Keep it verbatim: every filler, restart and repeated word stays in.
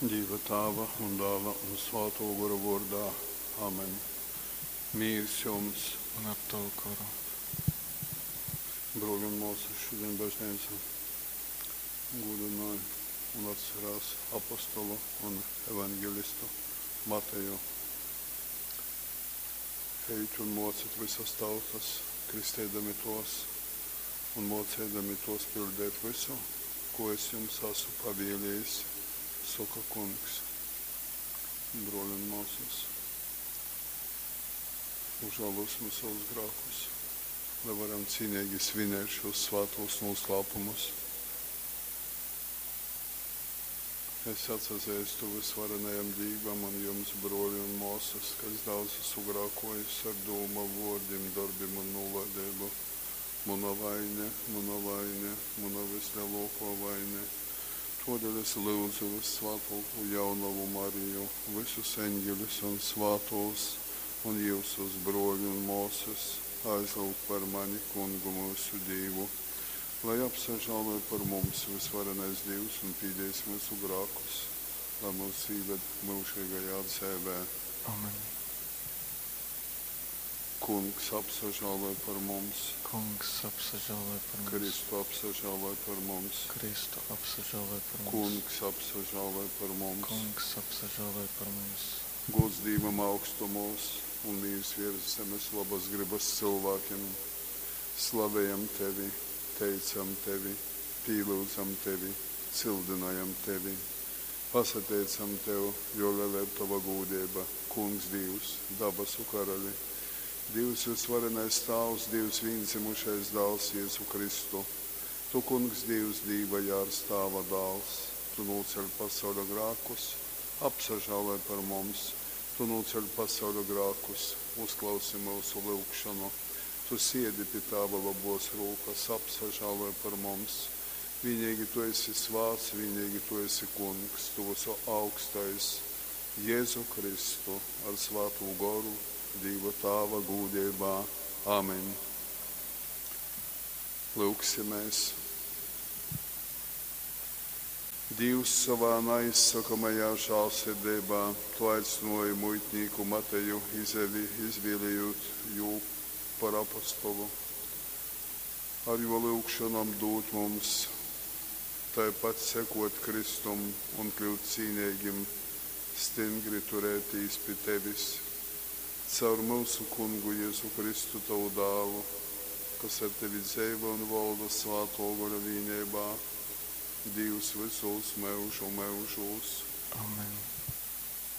Dīva Tāva un Dāla un Svātō Gora vōrdā. Amen. Mīrs jums! Un ar tavu goru. Brōļi un māsas, šodien baznīca gūdināja un atcerās apostolu un evangelistu Mateju. Ejit un mocit visas tautas, kristēdami tos un mocēdami tos pildēt visu, ko es jums esmu pavēlējis, saka kungs. Brōļi un māsas, užālosim savus grēkus, lai varam cīnīgi svinēt šos svātos noslēpumus. Es atsazīstu visvarenajam Dīvam un jums, brōļi un māsas, ka es daudz esmu grēkojis ar dūmu, vōrdim, dorbim un nūlaideibu. Muna vaine, muna vaine, muna vislielākā vaine. Todēļ es lūdzu vissvētāko jaunavu Mariju, visus eņģeļus un svātos, un jūsus, brōļi un māsas, aizlūgt par mani kungu mūsu Dīvu, lai apsažāloj par mums visvarenais Dīvs un pīdīs mūsu grēkus, lai mūs īved mūžīgajā dzīvē. Amen. Kungs apsažāloj par mums, Kungs apsažāloj par mums. Kristu apsažāloj par mums, Kristu apsažāloj par mums. Kungs apsažāloj par mums. Kungs apsažāloj par mums. Gods Dīvam augstumos un mīrs virs zemes labas gribas cilvēkiem. Slavējam tevi, teicam tevi, pīlūdzam tevi, cildinājam tevi. Pasateicam tev, jo liela ir tava gūdība, Kungs Dievs, dabasu karali. Dievs visvarenais Tāvs, Dievs vienzimušais dāls Jēzu Kristu. Tu, Kungs, Dievs, Dīva jārs Tāva dāls, tu nūceļ pasauļa grēkus, apsažāloj par mums. Tu nūceļ pasauļa grēkus, uzklausi mūsu lūgšanu. Tu siedi pie Tāva labos rūkas, apsažāloj par mums. Vienīgi tu esi svāts, vienīgi tu esi kungs, tu visu augstais, Jēzu Kristu ar svātu goru, Dīva Tāva gūdībā. Amen. Lūksimies. Dievs savā neizsakamajā žēlsirdībā tu aicināji muitnieku Mateju izevi, izvēlējot jū par apostolu. Ar jo lūgšanām dot mums tāpat sekot Kristum un kļūt cīnīgim, stingri turētīs pie tevis. Caur mūsu kungu Jēzu Kristu tavu dālu, kas ar tevi dzīvo un valda svāto gara vienībā, Dievs visos mūžu mūžos. Amen.